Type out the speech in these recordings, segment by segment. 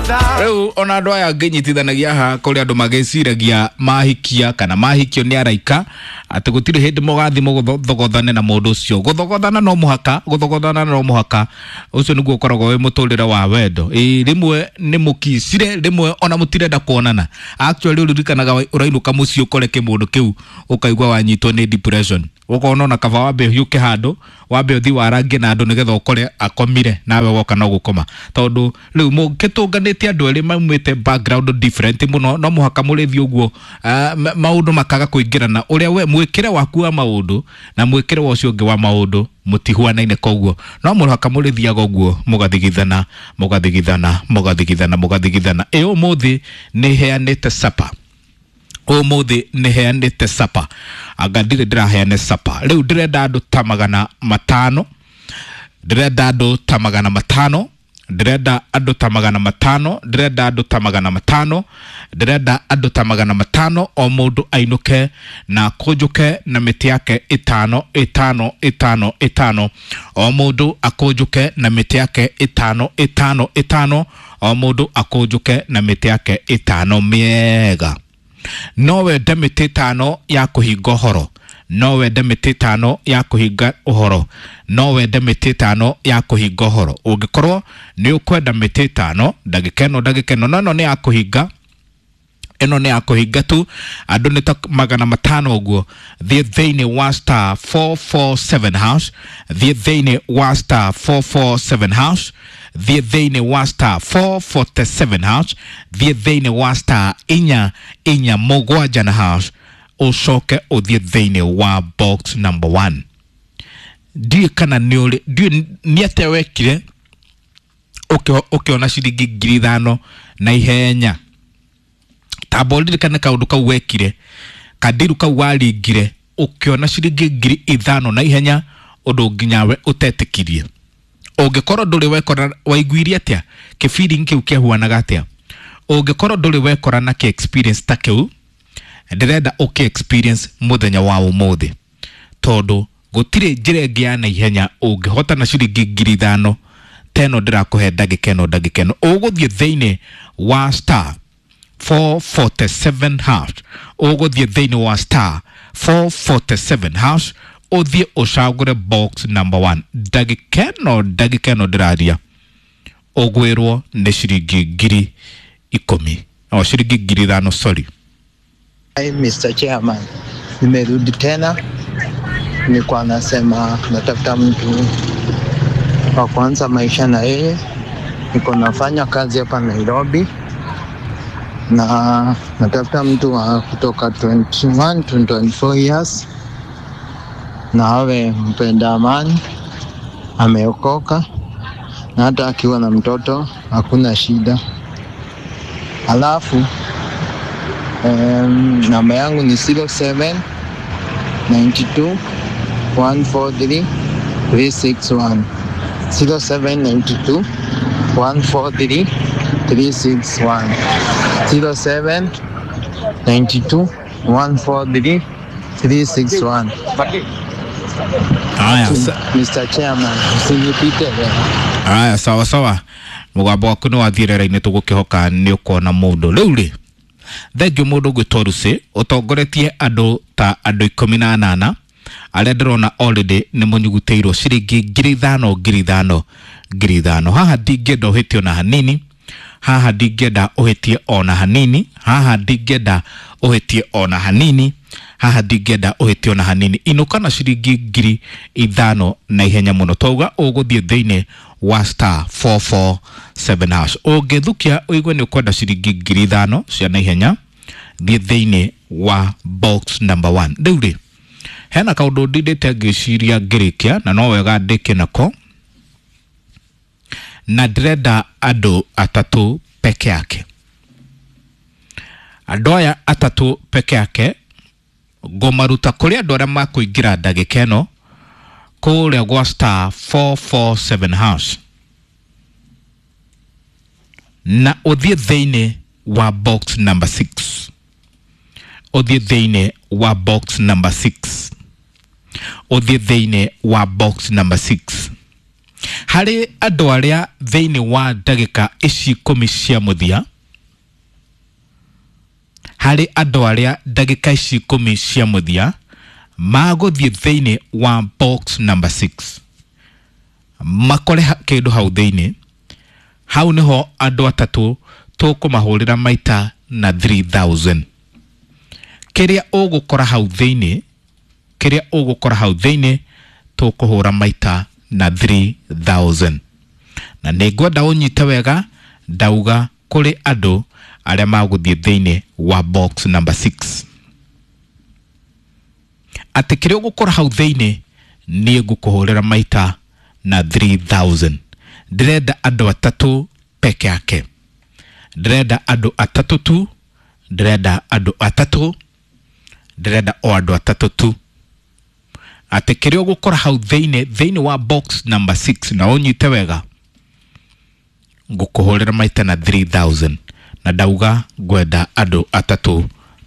Rĩu ona andũ aya ngĩnyitithanagia haha kũrĩ andũ magĩciragia mahikia kana mahikio nĩ araika atĩ gũtirĩ hĩndĩ mũgathi mũthogothane na mũndũ ũcio. Gũthogothana no mũhaka, gũthogothana no mũhaka. Ũcio nĩguo ũkoragwo wĩ mũtũrĩre wa wendo. Ĩĩ rĩmwe nĩ mũkicire, rĩmwe ona mũtirenda kuonana. Actually ũririkanaga ũrainũka mũciĩ ũkore kĩmũndũ kĩu ũkaigua wanyitwo nĩ depression. Ũkona ona kaba wambe ũhiũke handũ, wambe ũthiĩ warangie na andũ nĩgetha ũkore akomire nawe woka no gũkoma. Tondũ rĩu mũkĩtũnganĩte andũ erĩ maumĩte background different mũno, no mũhaka mũrĩthiĩ ũguo, maũndũ makaga kũingĩrana. Ũrĩa we mwĩkĩre waku wa maũndũ na mwĩkĩre wa ũcio ũngĩ wa maũndũ mũtihuanaine, koguo no mũhaka mũrĩthiaga ũguo mũgathigithana mũgathigithana mũgathigithana mũgathigithana. Ĩ ũmũthĩ nĩ heanĩte sapa, ũmũthĩ nĩ heanĩte sapa, anga ndirĩ ndĩraheane sapa. Rĩu ndĩrenda andũ ta 500, ndĩrenda andũ ta 500, ndĩrenda andũ ta 500, ndĩrenda andũ ta 500, ndĩrenda andũ ta 500, o mũndũ ainũke na akũnjũke na mĩtĩ yake 5 5 5 5, o mũndũ akũnjũke na mĩtĩ yake 5 5 5, o mũndũ akũnjũke na mĩtĩ yake 5 mĩega. No wende mĩtĩ 5 ya kũhinga ũhoro, no wende mĩtĩ 5 ya kũhinga ũhoro, no wende mĩtĩ 5 ya kũhinga ũhoro. Ũngĩkorwo nĩ ũkwenda mĩtĩ 5 ndagĩka ĩno, ndagĩka ĩno, no ĩno nĩ ya kũhinga, ĩno nĩ ya kũhinga tu. Andũ nĩ ta 500 ũguo. Thiĩ thĩinĩ wa star 447 hash, thiĩ thĩinĩ wa star 447 hash, thiĩ thĩinĩ wa star 447 hash, thiĩ thĩinĩ wa star 4 4 7 na hash, ũcoke ũthiĩ thĩinĩ wa box number 1. Ndiũĩ kana nĩ ũrĩ, ndiũĩ nĩ atĩa wekire ũkĩona ciringi 5,000 na ihenya. Tamba ũririkane kaũndũ kau wekire, kandiru kau waringire ũkĩona ciringi 5,000 na ihenya, ũndũ nginya we ũtetĩkirie. Ũngĩkorwo ndũrĩ wekora, waiguire atĩa? Kĩ-feeling kĩu kĩahuanaga atĩa? Ũngĩkorwo ndũrĩ wekora na kĩ experience ta kĩu, ndĩrenda ũkĩ experience mũthenya wa ũmũthĩ, tondũ gũtirĩ njĩra ĩngĩ ya naihenya ũngĩhota na ciringi 5,000 ta ĩno ndĩrakũhe ndagĩka ĩno, ndagĩka ĩno. Ũgũthiĩ thĩinĩ wa star 447 hash, ũgũthiĩ thĩinĩ wa star 447 hash, ũthiĩ ũcagũre box number 1. Ndagĩka ĩno, ndagĩka ĩno ndĩraria, ũgwĩrwo nĩ ciringi 10,000, o ciringi 5,000, sorry. Hi, Mr. Chairman, nimerudi tena. Nilikuwa nasema natafuta mtu wa kuanza maisha na yeye. Niko nafanya kazi hapa Nairobi na natafuta mtu wa kutoka 21 to 24 years, na awe mpenda amani, ameokoka, na hata akiwa na mtoto hakuna shida. Alafu namba yangu ni 07 92 143 361, 0792 143 361, 07 92 143 361. Haya, Mr. Chairman, usinipite leo. Haya, sawa sawa. Mũgambo waku nĩ wathiĩ rĩera-inĩ, tũgũkĩhoka nĩ ũkona mũndũ. Rĩu rĩ, thengiũ mũndũ ũgwĩtwo Lucy ũtongoretie andũ ta andũ 18 arĩa ndĩrona already nĩ mũnyugutĩirwo ciringi 5,000 5,000 5,000. Haha ndingĩenda ũhĩtie ona hanini, haha ndingĩenda ũhĩtie ona hanini, haha ndingĩenda ũhĩtie ona hanini, haha ndingĩenda ũhĩtie ona hanini. Inũka na ciringi 5,000 na ihenya mũno. Twauga ũgũthiĩ thĩinĩ wa star 447 hash. Ũngĩthukia ũigue nĩ ũkwenda ciringi 5,000 cia na ihenya, thiĩ thĩinĩ wa box number 1. Rĩu rĩ, hena kaũndũ ndindĩte ngĩciria ngĩrĩkia, na no wega ndĩke nako, na ndĩrenda andũ atatũ peke yake. Andũ aya atatũ peke yake ngũmaruta kũrĩ andũ arĩa makũingĩra ndagĩka ĩno kũrĩa gwa star 447 hash, na ũthiĩ thĩinĩ wa box number 6, ũthiĩ thĩinĩ wa box number 6, ũthiĩ thĩinĩ wa box number 6. Harĩ andũ arĩa thĩinĩ wa ndagĩka ici 10 cia mũthia, harĩ andũ arĩa ndagĩka ici 10 cia mũthia magũthiĩ thĩinĩ wa box number 6 makore kĩndũ hau thĩinĩ, hau nĩho andũ atatũ tũkũmahũrĩra maita na 3000. Kĩrĩa ũgũkora hau thĩinĩ, kĩrĩa ũgũkora hau thĩinĩ tũkũhũra maita na 3000. Na nĩ ngwenda ũnyite wega, ndauga kũrĩ andũ arĩa magũthiĩ thĩinĩ wa box number 6 atĩ kĩrĩa ũgũkora hau thĩinĩ niĩ ngũkũhũrĩra maita na 3000. Ndĩrenda andũ atatũ peke yake, ndĩrenda andũ atatũ tu, ndĩrenda andũ atatũ, ndĩrenda o andũ atatũ tu, atĩ kĩrĩa ũgũkora hau thĩinĩ, thĩinĩ wa box number 6, na ũnyite wega, ngũkũhũrĩra maita na 3000. Na ndauga ngwenda andũ atatũ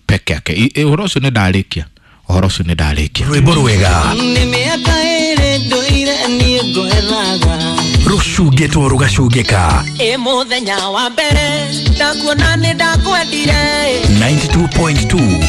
peke yake. Ũhoro ũcio nĩ ndarĩkia, ũhoro ũcio nĩ ndarĩkia. Rwĩmbo rwega. Nĩ mĩaka ĩrĩ ndũire niĩ ngwethaga. Rũcungĩtwo rũgacungĩka. Ĩ mũthenya wa mbere ndakuona nĩ ndakwendire. 92.2.